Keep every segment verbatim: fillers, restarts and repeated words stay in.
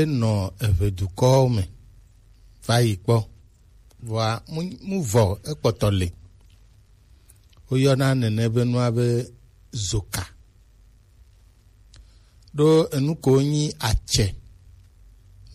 Enɔ eʋedukɔwo me va yi kpɔ. Vɔa, mu, mu vɔ ekpɔtɔ le. Woyɔna nene be nua be zoka. Ɖo enu ko nyi atsɛ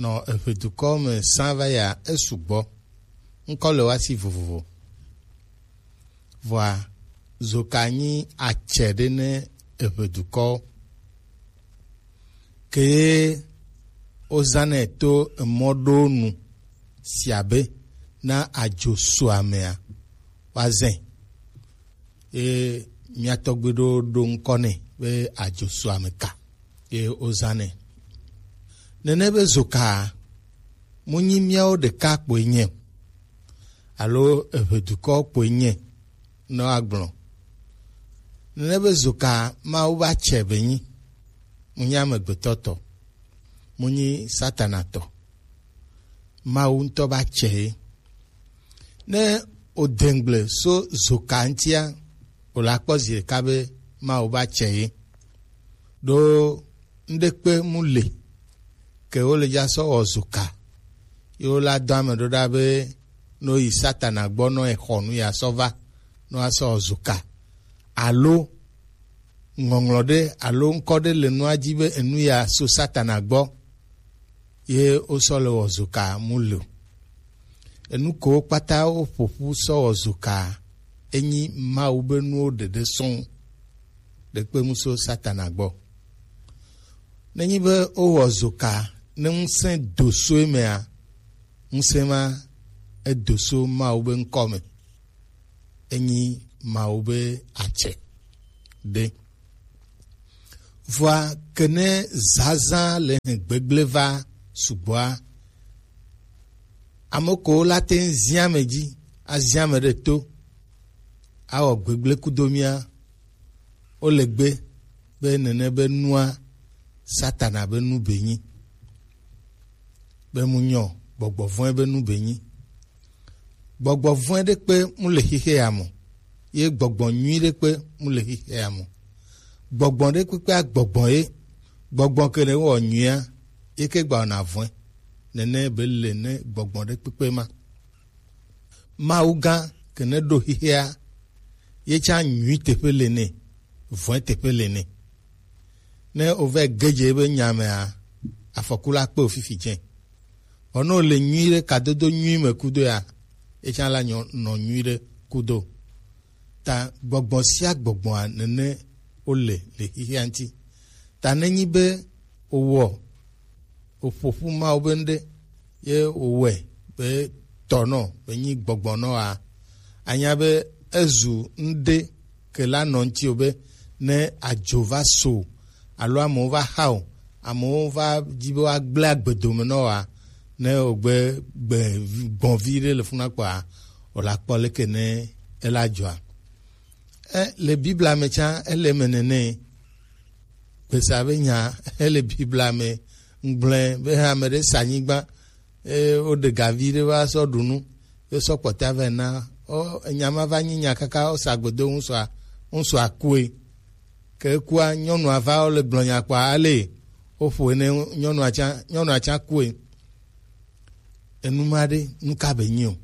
nɔ eʋedukɔ me sã va ya esugbɔ. Ŋkɔ le wa si vovovo. Vɔa, zoka nyi atsɛ ɖe ne eʋedukɔwo. Ke ye wozãnɛ to emɔ ɖo nu sia be na adzo so amea, woazãe. Ye mía tɔgbuiɖewo ɖo ŋkɔ nɛ be adzo so ame ka ye wozãnɛ. Nene be zoka mu nyi míawo ɖeka kpoe nye o, alo eʋedukɔ kpoe nye ne woagblɔ. Nene be zoka Mawu va tsɛ be nyi, mu nyi amegbetɔ tɔ, mu nyi Satana tɔ. Mawu ŋutɔ va tsɛ ye. Ne wòde ŋgble so zoka ŋutia, wòle akpɔ zi ɖeka be Mawu va tsɛ ye. Ɖo ŋɖekpe mu le ke wole dza sɔ wɔ zoka. Ye wole adɔ ame ɖo ɖa be ne woyi Satana gbɔ nɔ exɔ nu ya sɔ va nɔ asɔ wɔ zoka. Alo ŋɔŋlɔ ɖe alo ŋkɔ ɖe le nua dzi be enu ya so Satana gbɔ. Ye wosɔ le wɔ zoka mu le o. Enu ko kpata woƒoƒu sɔ wɔ zoka enyi Mawu be nuwo ɖeɖe sɔŋ. Ɖekpe mu so Satana gbɔ. Nenyi be wowɔ zoka ne ŋusẽ do so emea, ŋusẽ ma edo so Mawu be ŋkɔ me. Enyi Mawu be atsɛ ɖe. Vɔa kene zazã le hɛn gbegble va sugbɔa, ame ko la te ŋu zia ame dzi, azia ame ɖe to, awɔ gbegble kudo mía, wole gbe be nene be nua Satana be nu be nyi. Be mu nyɔ gbɔgbɔ vɔ̃e be nu be nyi. Gbɔgbɔ vɔ̃e ɖe kpe mu le xixe ya mo, ye gbɔgbɔ nyui ɖe kpe mu le xixe ya mo. Gbɔgbɔ ɖe kpekpea gbɔgbɔ ye, gbɔgbɔ ke ne wɔ nyuia, ye ke gba wɔna vɔ̃e. Nene be le ne gbɔgbɔ ɖe kpekpe ma. Mawu gã ke ne ɖo xixea, ye tsã nyui teƒe le nɛ, vɔ̃e teƒe le nɛ. Ne wova ge dze ebe nya mea, afɔku la kpe wò fifi dze. Vɔ ne wòle nyui ɖe kadodo nyui me kudo ya, ye tsã la nyɔ nɔ nyui ɖe kudo. Ta gbɔgbɔ sia gbɔgbɔa nene wole le xixea ŋuti. Ta nenyi be wowɔ wòƒo ƒu Mawu be ŋɖe ye wòwɔe be tɔnɔ be nyi gbɔgbɔnɔ a, anya be ezu ŋɖe ke la nɔ ŋuti o be ne adzo va so alo amewo va xa o, amewo va dzi be woagblẽ agbedome nɔ wa, ne wògbe gbe gbɔ̃vi ɖe le funa kpɔa, wòla kpɔ leke ne ela dzɔa. E, le Biblia me tsã ele eme nene. Gbesa be nya ele Biblia me. Ŋgblẽ be hã ame ɖe sa anyigba, eye woɖe gavi ɖe va sɔ ɖu nu, ye sɔ kpɔta vɛ na. O, enya ma va nyi nya kaka wosa gbedo ŋusua, ŋusua kue. Ke ekua, nyɔnua va wole gblɔ nya kpɔa ale woƒo ene nyɔnua tsã, nyɔnua tsã kue. Enu ma ɖe, nu ka be nyi o?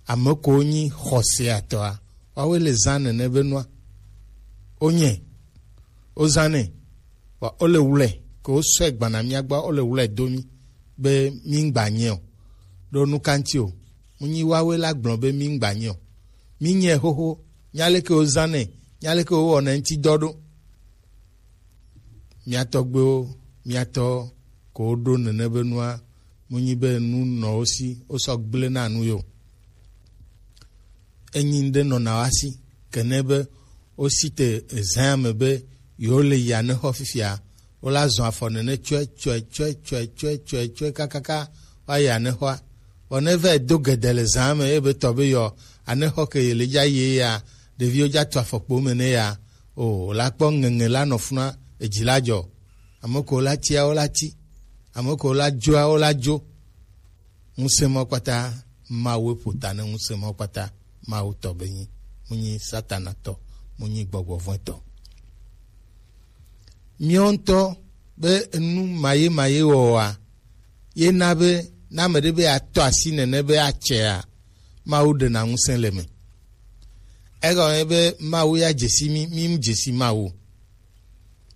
Ame ko nyi xɔseatɔa, woawoe le zã nene be nua. Wonye, wozãnɛ, vɔ wole wlɛ, ke wosɔe gbana mía gbɔ, wole wlɛ do mí be mí ŋgba nye o. Ɖo nu ka ŋuti o? Mu nyi woawoe la gblɔ be mí ŋgba nye o. Mí nye xoxo, nya leke wozãnɛ, nya leke wowɔnɛ ŋuti dɔ ɖo. Mía tɔgbuiwo, mía tɔ ko woɖo nene be nua, mu nyi be nu nɔ wo si, wosɔ gblẽ na nu yo. Enyi ŋɖe nɔna wa si, kene be wosi te ezã me be yewo le yi anexɔ fifia, wola zɔ afɔ nene tsɔe, tsɔe, tsɔe, tsɔe, tsɔe, tsɔe, tsɔe, kakaka, woayi anexɔa. Vɔ ne va yi do gede le zã me, eye be tɔ be yɔ, anexɔ ke ye le dza yi ya, ɖeviwo dza tu afɔkpo me ne ya, o, la kpɔ ŋeŋe la nɔ funa, edzi la dzɔ. Ame ko la tia, wo la ti. Ame ko la dzoa, wo la dzo. Ŋusẽ ma kpata, Mawu ƒo ta ne ŋusẽ ma kpata, Mawu tɔ be nyi, mu nyi Satana tɔ, mu nyi gbɔgbɔ vɔ̃ tɔ. Míawo ŋutɔ Be enu maye maye wɔwɔa, ye na be ne ame ɖe be atɔ asi nene be atsɛa, Mawu ɖena ŋusẽ le eme. Egɔme be Mawu ya dzesi mí, mí mu dzesi Mawu.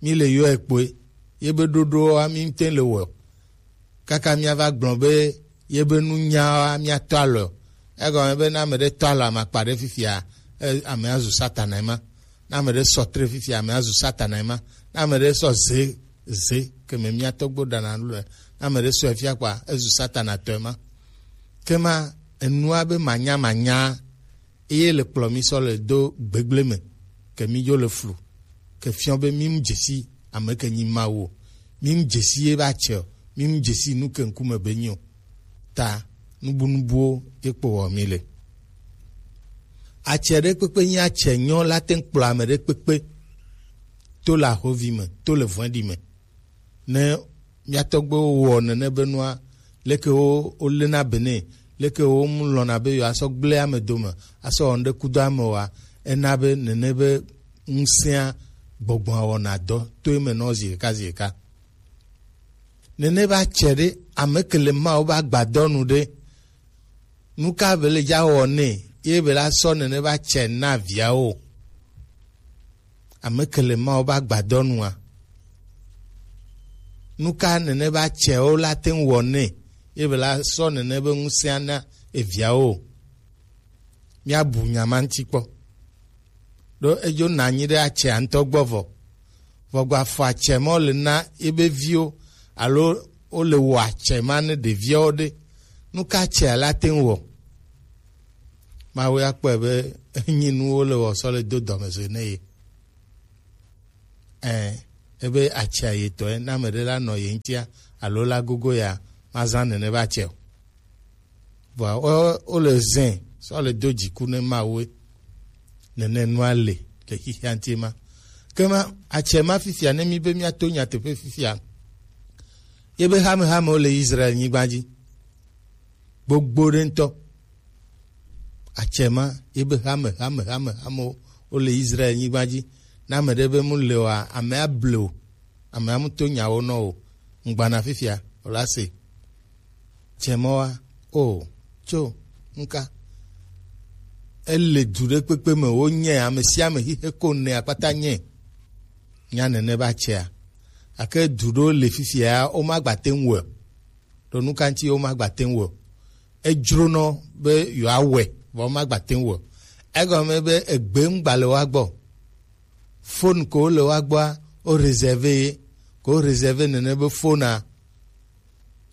Mí le yɔe kpoe, ye be ɖoɖoa mí ŋutɔ le wɔ. Kaka míava gblɔ be ye be nunyawoa míatɔ alɔ. Egɔme be ne ame ɖe tɔ alɔ amakpa ɖe fifia, e, amea zu Satana ema. Ne ame ɖe sɔ tre fifia, amea zu Satana ema. Ne ame ɖe sɔ ze, ze, ke me mía tɔgbo ɖana nu le, ne ame ɖe sɔe fia kpɔa, ezu Satana tɔ ema. Ke ma, enua be manya manya, eye le kplɔ mí sɔ le do gbegble me, ke mí dzo le flu, ke fiɔ be mí mu dzesi ame ke nyi Mawu o, mí mu dzesi ye be atsɛ o, mí mu dzesi nu ke ŋkume be nyi o. Ta nubunubuwo ye kpo wɔ mí le. Atsɛ ɖe kpekpe nyi atsɛ nyɔ la te ŋu kplɔ ame ɖe kpekpe to le ahovi me, to le vɔ̃ɖi me. Ne mía tɔgbuiwo wɔ nene be nua, leke wo wolena be nɛ, leke wo mu lɔ̃na be yewoasɔ gblẽ ame dome asɔ wɔ nu ɖe kudo ame oa, ena be nene be ŋusẽa gbɔgbɔa wɔna dɔ to eme nɔ zi ɖeka zi ɖeka. Nene be atsɛ ɖe, ame ke le Mawu be agbadɔ nu ɖe, nu ka be le dza wɔ nɛ ye be la sɔ nene be atsɛ na viawo? Ame ke le Mawu be agbadɔ nua? Nu ka nene be atsɛwo la te ŋu wɔ nɛ ye be la sɔ nene be ŋusẽa na eviawo? Míabu nya ma ŋuti kpɔ. Ɖo edzo na anyi ɖe atsɛa ŋutɔ gbɔ vɔ. Vɔ gba fɔ atsɛ ma le na ebe viwo alo wo le wɔ atsɛ ma ne ɖeviawo ɖe. Nu ka atsɛa la te ŋu wɔ? Mawu ya kpɔe be enyi nu wo le wɔ sɔ le do dɔmezɔe ne ye. Ɛ, ebe atsɛa yetɔe, ne ame ɖe la nɔ ye ŋutia alo la gogo ya, mazã nene be atsɛ o. Vɔa wo, wo le zẽ sɔ le do dziku ne Mawu nene nua le le xixia ŋuti ma. Ke ma atsɛ ma fifia ne mi be míato nyateƒe fifia. Ye be hamehamewo le Israel nyigba dzi. Gbogbo ɖe ŋutɔ. Atsɛ ma ye be hamehamehamehamewo wo le Israel nyigba dzi. Ne ame ɖe be mu le oa, amea ble o. Amea mu to nyawo nɔ o. Ŋgbana fifia o la se. Tsɛmɔa, o, tso, ŋka. Ele du ɖe kpekpe me, wo nyɛ, ame sia ame xixe ko ne akpata nyɛ. Nya nene ba tsɛa. Ake du ɖewo le fifia, wo ma gba te ŋu wɔ. Ɖo nu ka ŋuti wo ma gba te ŋu wɔ? Edzronɔ be yewoawɔe, vɔ wo ma gba te ŋu wɔ. Egɔme be egbe ŋu gba le woa gbɔ. Fon ko le woa gbɔa, wo réservé ye, ko wo réservé nene be fona.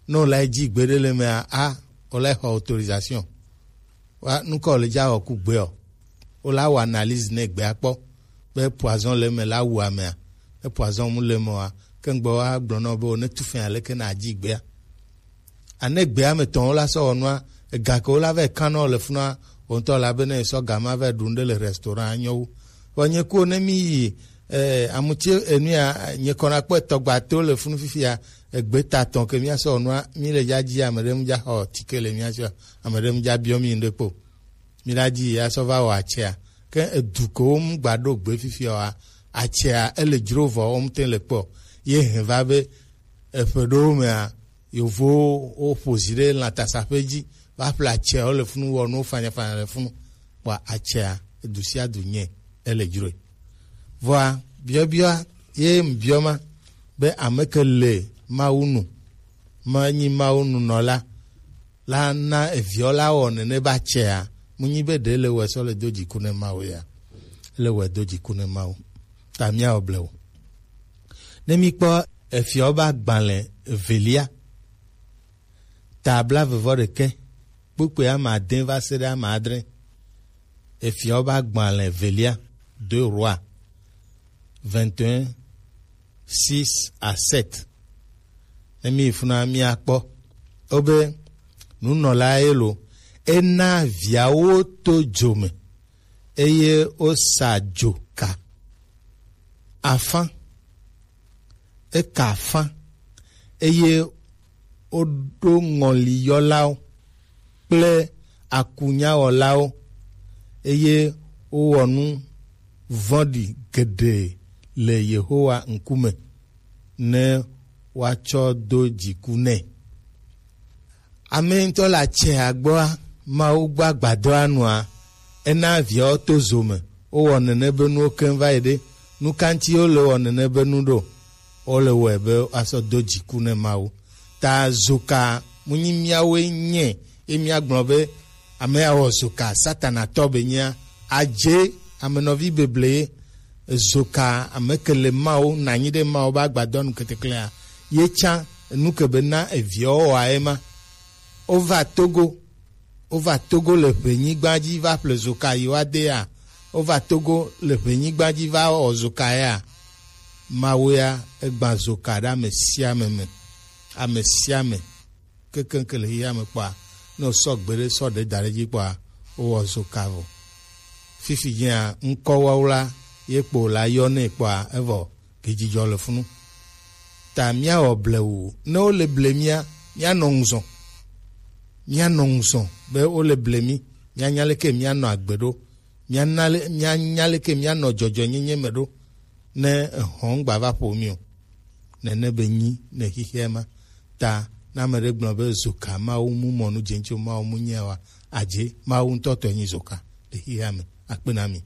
Ne wòle dzi gbeɖe le mea, a, wòle xɔ autorisation. Wa, nukɔ wòle dza wɔ ku gbeɔ? Wòle awɔ analyse ne gbea kpɔ be poison le eme la wu amea. Ne poison mu le eme oa, ke ŋgbe woagblɔ nɔ be wòne tu fɛn aleke na adzi gbea. Ane gbea me tɔn wola sɔ wɔ nua, ega ke wola vɛ kan nɔ le funua, wo ŋutɔ la be ne sɔ ga ma vɛ ɖu ŋɖe le restaurant nyɔ wu. Vɔ nye ko ne mi yi, eh, amuti enua, nye kɔna kpɔ etɔgba to le funu fifia, egbe ta tɔn ke mia sɔ nua, mi le dza dzi ame ɖe mu dza xɔ tike le mia sɔ, ame ɖe mu dza biɔ mi ŋɖe kpo. Mi la dzi ya sɔ va wɔ atsɛa. Ke edu ko wo mu gba ɖo gbe fifia wa, atsɛa ele dzro vɔ wo mu te le kpɔ. Ye hɛn va be, eƒe ɖewo mea, yovowo woƒo zi ɖe lãtasaƒe dzi va ƒle atsɛawo le funu wɔ nuwo fanyafanya le funu. Kpɔa atsɛa, edu sia du nyɛ ele dzroe. Vɔa, biɔbiɔa ye ŋbiɔ ma be ame ke le Mawu nu, menyi Mawu nunɔla, la na eviɔ la wɔ nene ba tsɛa, mu nyi be ɖe le wɔ sɔ le do dziku ne Mawu ya. Le wɔ do dziku ne Mawu. Ta míawɔ blewu. Ne míkpɔ Efyɔ ƒe agbalẽ evelia, ta blaeve vɔ ɖekɛ, kpukpui ame ade va se ɖe ame adre. Efyɔ ƒe agbalẽ evelia, deux Rois vingt et un, six à sept. Ne míyi funa míakpɔ. Wobe nunɔla ye lo, ena viawo to dzo me, eye wosa dzoka afã. Eka afã, eye woɖo ŋɔliyɔlawo kple akunyawɔlawo, eye wowɔ nu vɔ̃ɖi geɖe le Yehowa ŋkume ne woatsɔ do dziku nɛ. Ame ŋutɔ le atsɛ agbɔa, Mawu gbɔ agbadɔa nua, ena viawo to zo me. Wowɔ nene be nuwo keŋ va yi ɖe. Nu ka ŋuti wole wɔ nene be nu ɖo? Wole wɔe be woasɔ do dziku ne Mawu. Ta zoka munyi míawoe nye ye míagblɔ be ame ya wɔ zoka Satana tɔ be nyea, adze ame nɔvi beble ye. Zoka ame ke le Mawu nanyi ɖe Mawu be agbadɔ nu keteklea, ye tsã enu ke be na eviawo wɔa ye ma. Wova Togo, wova Togo le ʋenyigba dzi va ƒle zoka yi woade ya. Wova Togo le ʋenyigba dzi va wɔ zoka ya. Mawu ya egbã zoka ɖe ame sia ame me, ame sia ame kekeŋ ke le xexea me kpɔa, ne wosɔ gbe ɖe sɔ ɖe da ɖe dzi kpɔa, wowɔ zoka vɔ. Fifi dzia ŋkɔ wawla ye kpo la yɔ nɛ kpɔa, evɔ gidzidzɔ le funu. Ta míawɔ blewu. Ne wole ble mía, míanɔ ŋuzɔ. Míanɔ ŋuzɔ be wole ble mí. Míanya leke míanɔ agbe ɖo. Míana le, míanya leke míanɔ dzɔdzɔenyenye me ɖo. Ne ehɔn gba va ƒo mí o. Nene be nyi ne xixia ma. Ta ne ame ɖe gblɔ be zoka Mawu mu mɔ nu dze ŋtsi o, Mawu mu nyea wa, adze Mawu ŋutɔ tɔe nyi zoka le xixia me. Akpe na mi.